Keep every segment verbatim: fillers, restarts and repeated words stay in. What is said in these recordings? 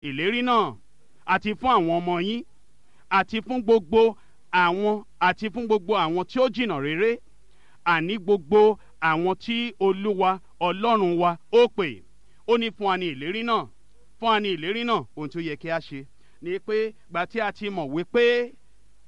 ìlérí náà, àti fún àwọn ọmọ yín, àti fún gbogbo àwọn àti fún gbogbo àwọn tí ó jìnnà réré, àní gbogbo àwọn tí Olúwa Ọlọ́run wa ó pè. Ó ní fún wa ní ìlérí náà, fún wa ní ìlérí náà. Ohun tí ó yẹ kí a ṣe ni pé gbà tí a ti mọ̀ wípé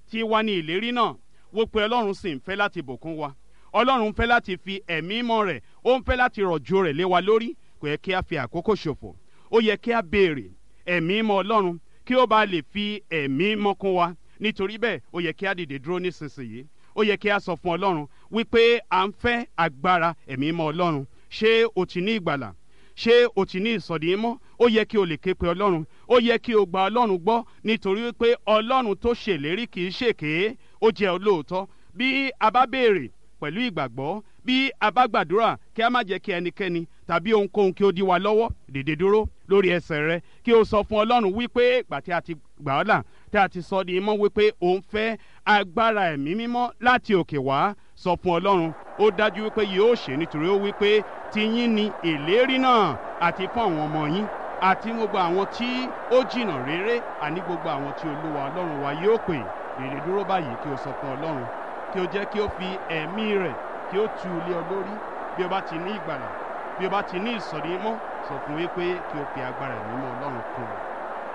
tí wa ní ìlérí náà, wó pé Ọlọ́run sì ń fẹ́ láti bùkún wa, Ọlọ́run ń fẹ́ láti fi ẹ̀mí mọ́ rẹ̀, ó ń fẹ́ láti rọ̀jò rẹ̀ lé wa lórí. Kò yẹ kí a fi àkókò ṣòfò. Ó yẹ kí a béèrè ẹ̀mí mọ́ Ọlọ́run kí ó bá lè fi ẹ̀mí mọ́ kún wa. Nítorí bẹ́ẹ̀, ó yẹ kí a dìde dúró nísinsìnyí. Ó yẹ kí a sọ fún Ọlọ́run wípé à ń fẹ́ agbára ẹ̀mí mọ́ Ọlọ́run. Ṣé o ti ní ìgbàlà? Ṣé o ti ní ìsọ̀dí mọ́? Ó yẹ kí o lè ké pe Ọlọ́run. Ó yẹ kí o gba Ọlọ́run gbọ́, nítorí wípé Ọlọ́run tó ṣèlérí kì í ṣèké, ó jẹ́ olóòótọ́. Bí a bá béèrè pẹ̀lú ìgbàgbọ́, bí a bá gbàdúrà, kí a má jẹ́ kí ẹnikẹ́ni tàbí ohunkóhun kí ó dí wa lọ́wọ́. Dìde dúró lórí ẹsẹ̀ rẹ kí o sọ fún Ọlọ́run wípé ìgbà tí a ti gbà ọ́ là, tí a ti sọ di mímọ́, wípé o ń fẹ́ agbára ẹ̀mí mímọ́ láti òkè wá. Sọ fún Ọlọ́run, ó dájú wípé yóò ṣe, nítorí ó wípé tiyín ni ìlérí náà, àti fún àwọn ọmọ yín, àti gbogbo àwọn tí ó jìnnà réré, àní gbogbo àwọn tí Olúwa Ọlọ́run wa yóò pè. Dìde dúró báyìí kí o sọ fún Ọlọ́run, kí o jẹ́ kí ó fi ẹ̀mí rẹ̀ kí ó tu ilé ọ lórí. Bí o bá ti ní ìgbàlà, bí o bá ti ní ìsọ̀rí mọ́, sọ fún wípé kí o fi agbára ẹ̀mí mọ́ Ọlọ́run kún un.